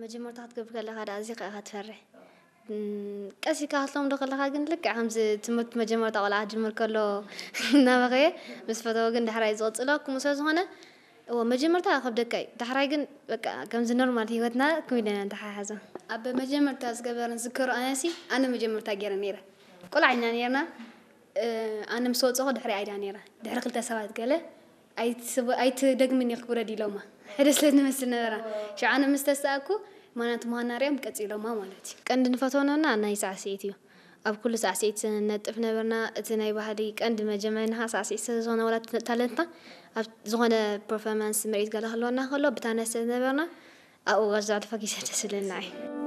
መጀመርታ ክትገብር ከለኻ ደኣ ኣዚኻ ኢኻ ትፈርሕ። እም፣ ቀስ ኢልካ ክትለምዶ ከለኻ ግን ልክዕ ከምዚ ትምህርቲ መጀመርታ ቆልዓ ክጅምር ከሎ እናበኸየ ምስ ፈተወ ግን ዳሕራይ ዝቕጽሎ ከምኡ ስለ ዝኾነ፣ እወ፣ መጀመርታ ከብደካ እዩ። ዳሕራይ ግን በቃ ከምዚ ኖርማል ህይወትና ክም ኢለና ንተሓሓዞ። ኣብ መጀመርታ ዝገበረን ዝዝከሮ ኣነሲ፣ ኣነ መጀመርታ ገይረ ነይረ። ቆልዓ ኢና ነይርና። እ፣ ኣነ ምስ ወጸኹ ድሕሪ ኣይዳ ነይራ። ድሕሪ ክልተ ሰባት ገለ ኣይትስብ-፣ ኣይትደግምን ኢኺ ክውረድ ኢሎማ። ሕደ ስለ ንመስል ነበራ። ሽዑ ኣነ ምስ ተሳእኩ፣ ማናት ምዃና ሪኦም ቀጺሎማ ማለት እዩ። ቀንዲ ንፈትዎ ነበርና ናይ ሳዕስዒት እዩ። ኣብ ኩሉ ሳዕስዒት ነጥፍ ነበርና። እቲ ናይ ባህሊ ቀንዲ መጀመርያ ንኻ ሳዕስዒት ስለ ዝኾነ ዋላ እቲ ታለንትና ኣብ ዝኾነ ፐርፎርማንስ ምርኢት ገለ ክህልወና ከሎ ብታነ ስለ ነበርና ኣብኡ ጋሽ ዘዕልፋ ጊሰ ደስ ዝብለና እዩ።